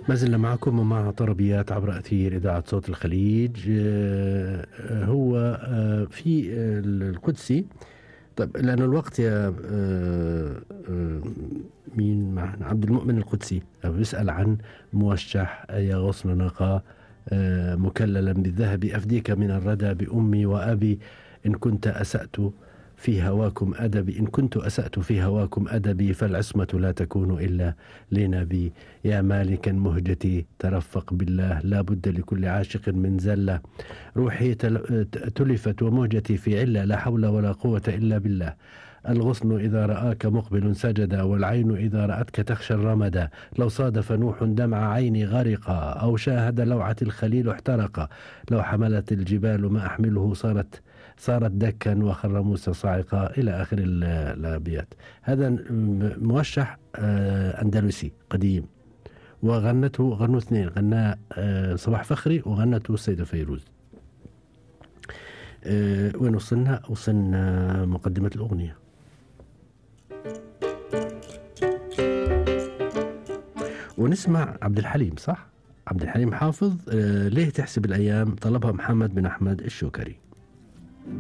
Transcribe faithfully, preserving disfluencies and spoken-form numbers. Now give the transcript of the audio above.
ما زلنا معكم ومع طربيات عبر أثير إذاعة صوت الخليج. آه، آه، هو آه، في آه، القدسي. طب لأن الوقت يا آه، آه، مين معنا عبد المؤمن القدسي بيسأل عن موشح يا غصن نقا آه، مكللا بالذهب أفديك من الردى بأمي وأبي إن كنت أسأت في هواكم أدبي إن كنت أسأت في هواكم أدبي فالعصمة لا تكون إلا لنبي يا مالكا مهجتي ترفق بالله لا بد لكل عاشق من زلة روحي تلفت ومهجتي في علة لا حول ولا قوة إلا بالله الغصن إذا رآك مقبل سجد والعين إذا رأتك تخشى الرمدا لو صادف نوح دمع عيني غرقا أو شاهد لوعة الخليل احترقا لو حملت الجبال ما أحمله صارت صارت دكا وخر موسى صاعقا إلى آخر الأبيات. هذا موشح أندلسي قديم وغنته غنوا اثنين غناه صباح فخري وغنته السيدة فيروز. وين وصلنا؟ وصلنا مقدمة الأغنية. ونسمع عبد الحليم. صح؟ عبد الحليم حافظ. ليه تحسب الأيام؟ طلبها محمد بن أحمد الشوكري.